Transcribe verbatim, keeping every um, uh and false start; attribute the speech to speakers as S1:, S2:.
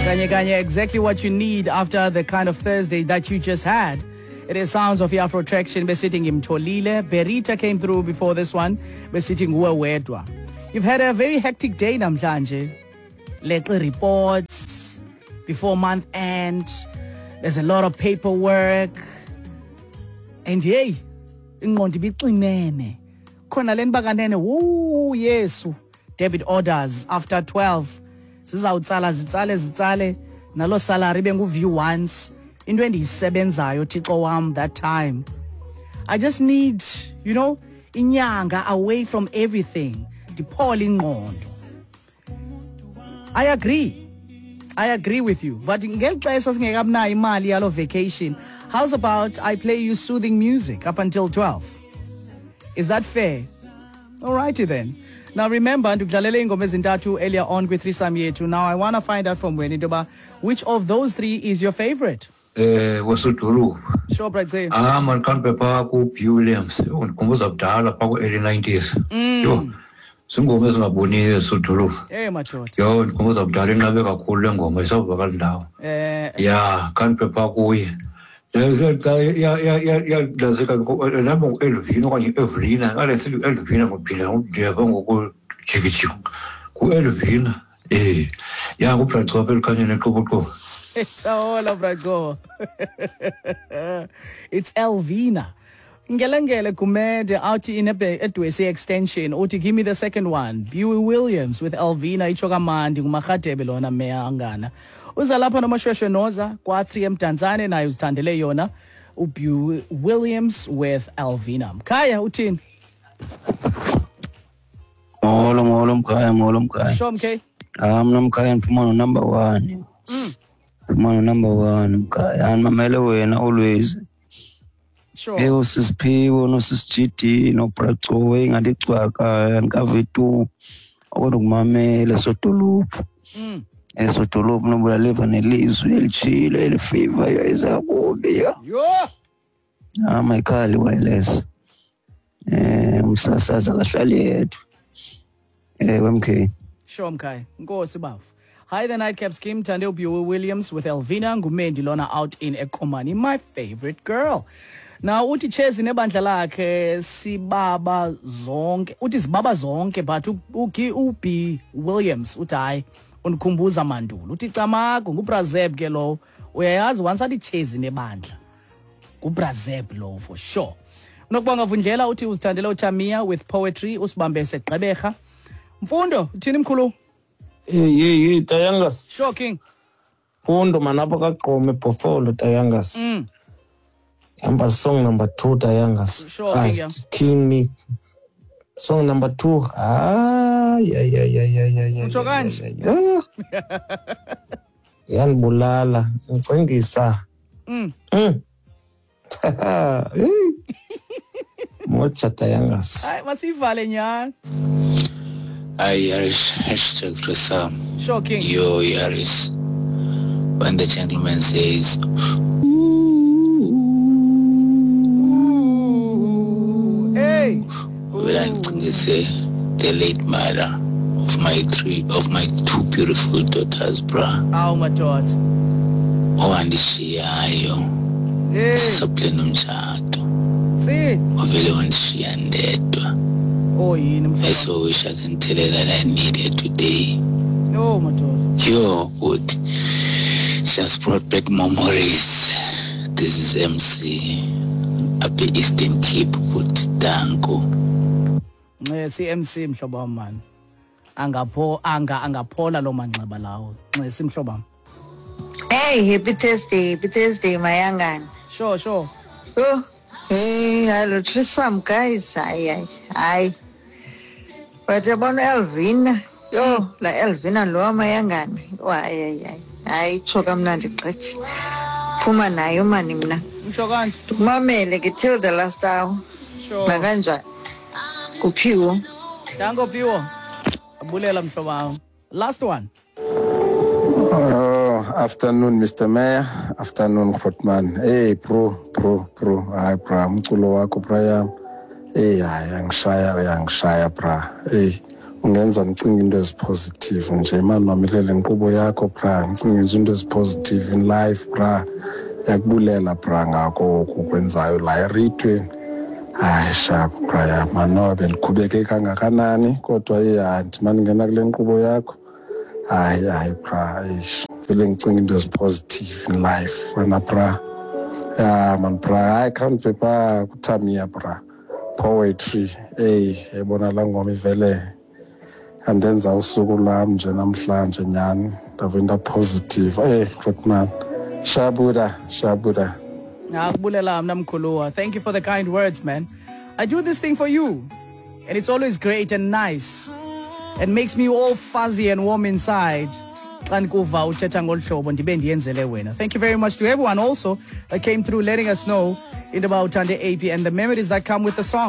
S1: Kanye kanye, exactly what you need after the kind of Thursday that you just had. It is sounds of Afro Traction besithi ngimtholile. Berita came through before this one besithi nguwe wedwa. You've had a very hectic day namhlanje. Leqi reports before month end. There's a lot of paperwork. And hey, ingqondo ibixinene. Khona le nbakanene, woo Yesu. Debit orders after twelve. Sizawutsala zitsale zitsale nalo salary bengu view once. Into endiyisebenzayo Thixo wam that time. I just need, you know, inyanga away from everything. Ndiphole ingqondo. I agree. I agree with you. But ngeli xesha singekabinayo imali yalo vacation, how's about I play you soothing music up until twelve? Is that fair? Alrighty then. Now remember, ndikudlalele iingoma ezintathu earlier on kwi-threesome yethu. Now I want to find out from wena into yoba which of those three is your favorite?
S2: Eh wesodolophu.
S1: Sure, Bra Gcina.
S2: Ah man, kanti pha ku B Williams, undikhumbuza kudala pha ku early nineties. Yho. Zingoma ezingaboniyo esodolophu.
S1: Eh madoda.
S2: Yho, ndikhumbuza kudala, inqabe kakhulu le ngoma, isavakala ndawo.
S1: Eh
S2: Ya, kanti pha kuye. Ya ya ya ya lazeka nabo ngu-Elvina okanye Evelina, ngale sithi Elvina ngophila ngudeva ngoku jikijiki. Ku-Elvina. Eh. Ya, nguBra apha elikhanyeni eqoboqobo.
S1: Sawola Brago. It's Elvina. Ngelengele Gumede out in Edwesi extension. Uthi give me the second one. Buey Williams with Elvina, itsho kamandi nguMarhadebe lona meya angana. Uza lapha noMashweshwe Noza kwa three eMdantsane, naye uzithandele yona uBuey Williams with Elvina. Mkhaya, uthini?
S3: Molo molo mkhaya, molo mkhaya.
S1: Sure, mkay.
S3: Ah, mna mkhaya ndiphuma no number one.
S1: Mm.
S3: Ndiphuma no number one mkhaya. Andimamele wena always.
S1: Sure.
S3: Eyo sisiphiwo no sis G D no Braco ingathi cwaka andikave tu. Kodwa kumamele sodolophu.
S1: Mm.
S3: Esodolophu nobula liva nelizwi elitshile elifavor yayiza kubi ya.
S1: Yho.
S3: Ah, Michael wireless. Eh umsasazi akahlali yedwa. Eh M K.
S1: Sure, mkhaya. Nkosi bafu. Hi, the Nightcap Scheme, Tande Buey Williams with Elvina, ngumendi lona out in Ekomani, my favorite girl. Now uthi Chezi nebandla lakhe sibaba zonke, uthi sibaba zonke, but uki uB Williams uthi hayi, undikhumbuza mandulo. Uthi camago nguBrazeb ke lo. Uyayazi once athi Chezi nebandla, nguBrazeb lo for sure. Unokubonga Vundlela uthi uzithandele uChamia with Poetry, usibambe seGqeberha. Mfundo, uthini mkhulu?
S4: Hey hey hey Tayangas.
S1: Sure, King.
S4: Mfundo manapha kaGqome Bhofolo, Tayangas.
S1: Mm.
S4: Number song number two, Tayangas.
S1: Sure,
S4: ah,
S1: King, yeah.
S4: Killing me. Song number two. Ah, yeah yeah yeah yeah yeah yeah.
S1: Utsho kanje?
S4: Yeah. Yanibulala, ngicingisa.
S1: Mm.
S4: Mm. Hey. Mocha, Tayangas.
S1: Hayi, masivale nyana.
S5: Hi, Yaris. Hashtag threesome.
S1: Sure, King.
S5: Yo, Yaris. When the gentleman says,
S1: ooh, hey,
S5: well, say the late mother of my three, of my two beautiful daughters, bruh.
S1: Awu madoda.
S5: Owandishiyayo.
S1: Hey.
S5: Sisaplena umtshato.
S1: Si.
S5: Wavele wandishiya ndedwa.
S1: Oh yini mhlobo.
S5: I so wish I can tell her that I need her today.
S1: Yo madoda.
S5: Yo, good. Just brought back memories. This is M C. Apha Eastern Cape, good. Danko.
S1: Nxesi M C mhlobo wam man. Angapho anga angaphola lo manxeba lawo. Nxesi mhlobo wam.
S6: Hey, happy Thursday, happy Thursday, Mayangan.
S1: Sure, sure.
S6: Oh, hey, hello, threesome guys. Hayi, hayi, hayi. But yabona Elvina, yo, la Elvina lo Mayangana. Oh, hayi, hayi, hayi. Hayi, itsho kamnandi gqithi. Phuma nayo mani mna.
S1: Utsho kanje.
S6: Mamele ke till the last hour.
S1: Sure.
S6: Nakanjani? Kuphiwo.
S1: Danko Phiwo. Abulela mhlobo wam. Last one.
S7: Oh, afternoon, Mister Mayor. Afternoon, Grootman. Hey, bro, bro, bro. Hayi bra, umculo wakho bra yam. Hey, hayi, uyangishaya, uyangishaya bra. Hey, Ungenza ndicinge into ezi-positive nje mani. Mamele le nkqubo yakho, bra, ndicinge nje into ezi-positive in life, bra. Yakubulela, bra, ngako oku ukwenzayo la ereyidweni. Hayi, sharp, bra yam. Manoba bendikhubeke kangakanani, kodwa ye ndimane ndingena kule nkqubo yakho, hayi, hayi, bra, eish, vele ndicinga into ezi-positive in life wena, bra. Ya man, bra, hayi, khandive phaa kuTamia, bra, "Poetry". Eyi, yayibona laa ngoma ivele andenza usuku lwam nje namhlanje nyhani, ndave nda-positive. Eyi, grootman, shabuda, shabuda.
S1: Akubulela mna, mkhuluwa. Thank you for the kind words, man. I do this thing for you, and it's always great and nice and makes me all fuzzy and warm inside xa ndikuva uthetha ngolu hlobo ndibe ndiyenzele wena. Thank you very much to everyone also that came through, letting us know into yoba uthande A P and the memories that come with the song.